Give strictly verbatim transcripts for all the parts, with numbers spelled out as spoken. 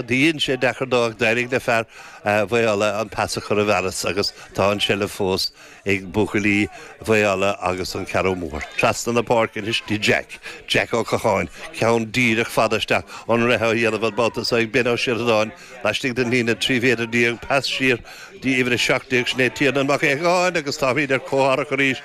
Dhein sé deacair dó ach d'éirigh le fear Mhaigh Fhála an pas a chur i bhfearas agus tá an seilbh fós ag buachaillí Mhaigh Fhála agus an Cheathrú Mór. Trasna na páirce anois dtí Jack, Jack Ó Catháin, ceann díreach fada isteach, an reith á dhéanamh an babhta seo ag Ben Ó Sioradáin laistigh den líne trí mhéadar déag, pas siar dtí uimhir a seacht déag, sin é Tiarnán Mac Aodhagáin agus táimid ar comhtharrac arís.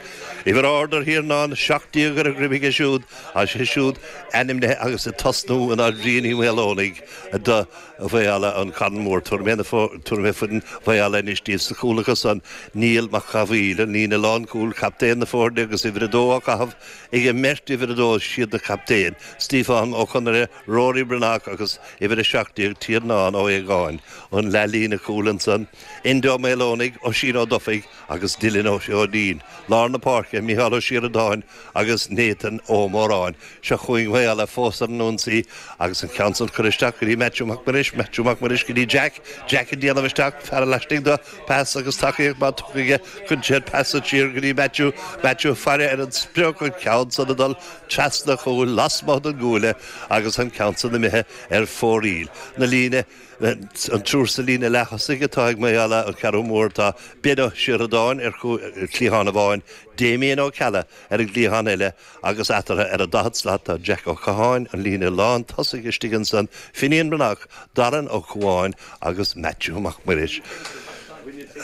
Uimhir ard ar Thiarnán, seacht déag ar a dhroim aige siúd, agus é siúd ainmnithe agus ag tosnú in áit Bhriain Uí Mhaoileonaigh do Mhaigh Fhála an Carn Mór. Tabharfaidh mé tabharfaidh mé foireann Mhaigh Fhála anois daoibh sa chúl acu san, Niall Mac Cathmhaoil, an líne lánchúil, captaen na foirne agus uimhir a dó á caitheamh ag an mbeirt uimhir a dó, siad na captaein, Stiofán Ó Conaire, Rory Breathnach agus uimhir a seacht déag, Tiarnán Ó hAodhagáin, an leathlíne cúil ansan, Enda Ó Maoileonaigh, Oisín Ó Dufaigh agus Dylan Ó Duinn. Lár na páirce, Micheál Ó Sioradáin agus Nathan Ó Móráin. Seo chugainn Maigh Fhála fós ar an ionsaí agus an ceann san curtha isteach go dtí Maitiú Mac Muiris, Maitiú Mac Muiris go dtí Jack, Jack ag déanamh isteach, fear laistigh dó, pas agus tacaíocht maith tugtha aige, cuireann sé an pas san siar go dtí Maitiú, Maitiú ag faire ar an sprioc, an ceann san ag dul trasna chúil lasmuigh den gcuaille agus an ceann san imithe ar fóraoil. Na líne, an triúr sa líne leath-thosaigh atá ag Maigh Fhála, an Ceathrú Mór, tá Ben Ó Sioradáin ar chliathán amháin, Damien Ó Ceallaigh ar an gcliathán eile agus eatarthu ar an daichead slat tá Jack Ó Catháin, an líne lán tosaigh istigh ansan, Finian Breathnach, Darren Ó Cuáin agus Maitiú Mac Muiris.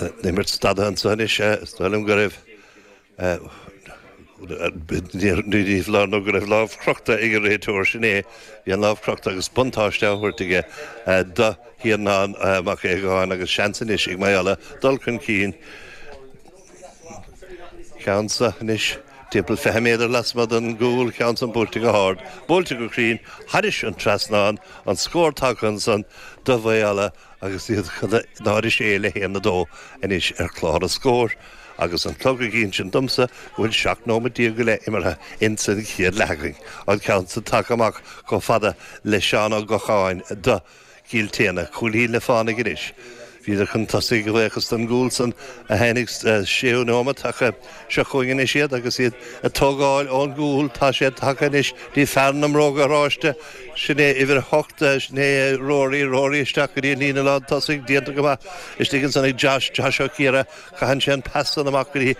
An imirt stadtha anso anois, is dóigh liom go raibh ní foláir nó go raibh lámh crochta ag an réiteoir, sin é, bhí an lámh crochta agus buntáiste á thabhairt aige do Thiarnán Mac Aodhagáin agus seans anois ag Maigh Fhála dul chun cinn. Ceann seo anois timpeall fiche méadar lasmuigh den gcúl, ceann san buailte go hard, buailte go cruinn, thairis an trasnán, an scór tagtha ansan do Mhaigh Fhála agus iad chun a náid a sé le haon a dó anois ar chlár an scóir agus an clog ag insint domsa go bhfuil seacht nóiméad déag go leith imeartha ins an chéad leath againn. An ceann san tagtha amach chomh fada le Seán Ó Gocháin do Chill tSéadhna, cúilín le fánaidh anois. Bhíodar chun tosaigh a bhuíochas don gcúl san a tháinig sa séú nóimeat ach seo chugainn anois iad agus iad ag tógáil ón gcúl. Tá sé tagtha anois dtí fear na mbróga oráiste, sin é uimhir a hocht, sin é Rory, Rory isteach go dtí an líne lán tosaigh, déanta go maith istigh ansan ag Josh, Josh Ó Ciardha, caitheann sé an pas san amach go dtí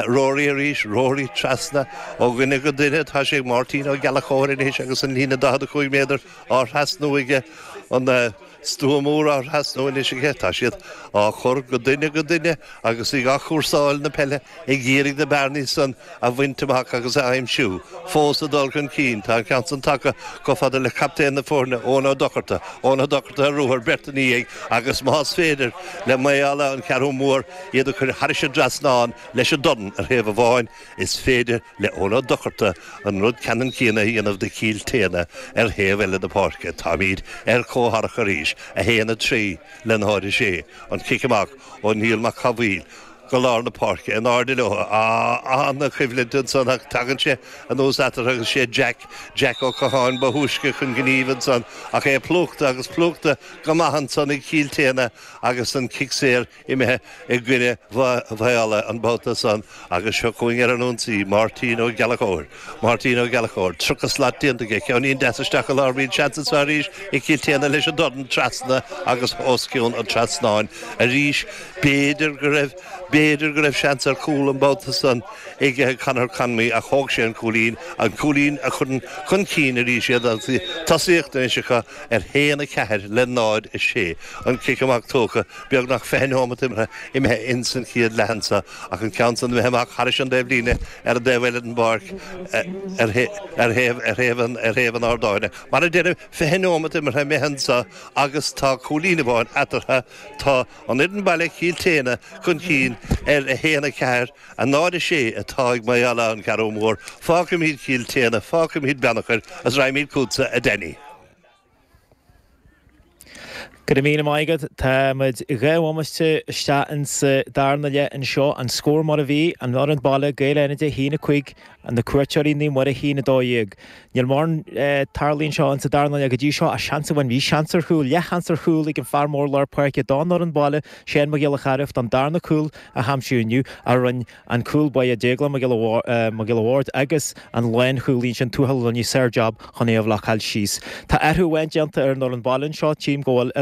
Rory arís, Rory trasna ó dhuine go duine, tá sé ag Máirtín Ó Gallchóir anois agus an líne daichead a cúig méadar á thrasnú aige. An stua mór á thrasnú anois aige. Tá siad á chur go duine go duine agus ag athchúrsáil na peile ag iarraidh na bearnaí san a bhaint amach agus a aimsiú. Fós ag dul chun cinn. Tá an ceann san tagtha chomh fada le captaen na foirne, Eoin Ó Dochartaigh. Eoin Ó Dochartaigh ar ruathar, beirt ina dhiaidh agus más féidir le Maigh Fhála an Cheathrú Mór iad a chur thairis an dtrasnán leis an dorn ar thaobh amháin, is féidir le Eoin Ó Dochartaigh an rud ceannann céanna a dhéanamh do Chill tSéadhna ar thaobh eile na páirce. Táimid ar comhtharrac arís, a haon a trí le náid a sé. An cic amach ó Niall Mac Cathmhaoil go lár na páirce in airde leo. An-choimhlint ansan ach tagann sé anuas eatarthu agus sé Jack, Jack Ó Catháin ba thúisce chun gnímh ansan ach é plúchta agus plúchta go maith ansan ag Cill tSéadhna agus an cic saor imithe i gcoinne Mhaigh Fhála an babhta san agus seo chugainn ar an ionsaí, Máirtín Ó Gallchóir. Máirtín Ó Gallchóir, tríocha slat déanta aige, ceainnín deas isteach i lár, bíonn seans anseo arís ag Cill tSéadhna leis an dorn trasna agus os cionn an trasnáin arís. B'fhéidir go raibh, b'fhéidir go raibh seans ar chúl an babhta san ag Conor Conmey ach thóg sé an cúilín, an cúilín a chuireann chun cinn arís iad agus tosaíocht anois acu ar haon a ceathair le náid a sé. An cic amach tógtha. Beagnach fiche neomat imeartha imithe ins an chéad leath anso ach an ceann san imithe amach thairis an dtaobh líne ar an dtaobh eile den bpáirc ar thaobh ar thaobh an ar thaobh an ardáin. Mar a deirim, fiche neomat imeartha imithe anso agus tá cúilín amháin eatarthu. Tá an fhoireann baile, Cill tSéadhna, chun cinn ar a haon a ceathair, a náid a sé atá ag Maigh Fhála an Cheathrú Mór. Fágfaimid Cill tSéadhna, fágfaimid Beannchar agus raghaimid chugatsa, a Danny. Go Go raibh míle maith agat. Tá muid dhá bhomaite isteach insa darna leath anseo. An scór mar a bhí, an fhoireann baile, Gaeil Fhánada, a haon a cúig, na cuairteoirí Naomh Muire, a haon a dó dhéag. Níl mórán tarlaithe anseo insa darna leath go dtí seo ach seans amháin, bhí seans ar chúl, leathsheans ar chúl ag an fear mór lár páirce don fhoireann baile, Shane Mac Giolla Chairbh, don darna cúl a haimsiú inniu ach rinne an cúl báire Déaglán Mac Giolla Bhaird agus an lánchúlaí ansin Tuathal Ó Luinnigh sár-jab chun é a bhlocáil síos. Tá athrú amháin déanta ar an fhoireann baile anseo, tchím go bhfuil